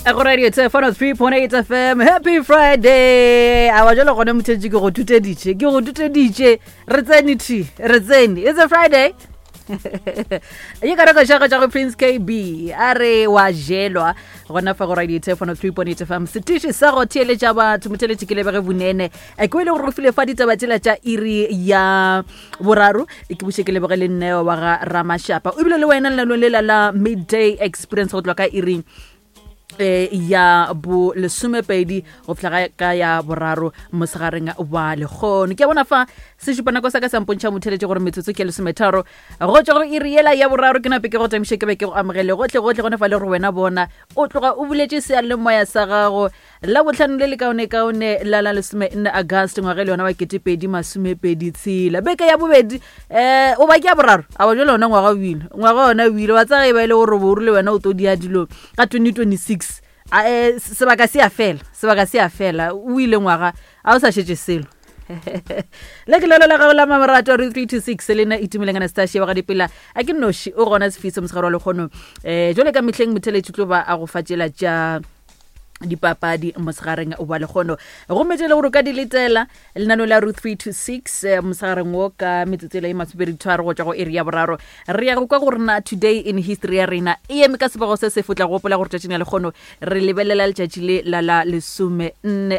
Go radio 103.8 FM. Happy Friday. A wa jalo gone mothetše ke go tuteditše. Ke go tuteditše. Re tsene thi. Re tsene. It's a Friday. Ye ka reko šago tša go Prince KB. A re wa jelwa gona fa go radio 103.8 FM. Setiši sa go theeletša batho motheletši ke lebege bunene. E ke ile gore go file fa ditaba tšela tša iri ya boraro ke buše ke leboge le nneo wa ga Ramashapa. O bile le wena lenanong lela la midday experience go tloga ka iri eh, ya bo lesomepedi go fihla ka ya boraro mosegareng wa lekgono. Ke a bona fa sešupanako sa ka sa mpontšha motheletše gore metsotso ke lesometharo go tšwa go iri yela ya boraro. Ke nape ke go tamiše ke be ke go amogele gohle gohle gona fa le gore wena bona o tloga o buletše seyalemoya sa gago Labohlano le lekaonekaone la la 14 Agast ngwaga le yona wa 2026. Beke ya bobedi eh o ba ke ya boraro a wa jale ona ngwaga o ile ngwaga ona o ile wa tsaya e ba e le gore bo rile wena o tlo dia dilo ka 2026 a eh, sebaka se a fela sebaka se a fela o ile ngwaga a o sa šetše selo. Le ke lelo la gago la mamarato re 326 le nna Itumeleng Anastasia wa ga dipela a ke noši o gona sefiso mosegare wa lekgono um jale ka mehleng motheletši tlo ba a go fatšela tša dipapadi mosegareng wa lekgono gomme tše le gore o ka di letela lenano la ru 3 to 6 eh, mosegareng wo ka metsotso e le e masomepeditharo go tšwa go iri ya boraro. Re ya go kwa gore na today in history ya rena e eme ka sebego se se fotla. Gopola gore tšatšing la lekgono re lebelela letšatši le la la 14.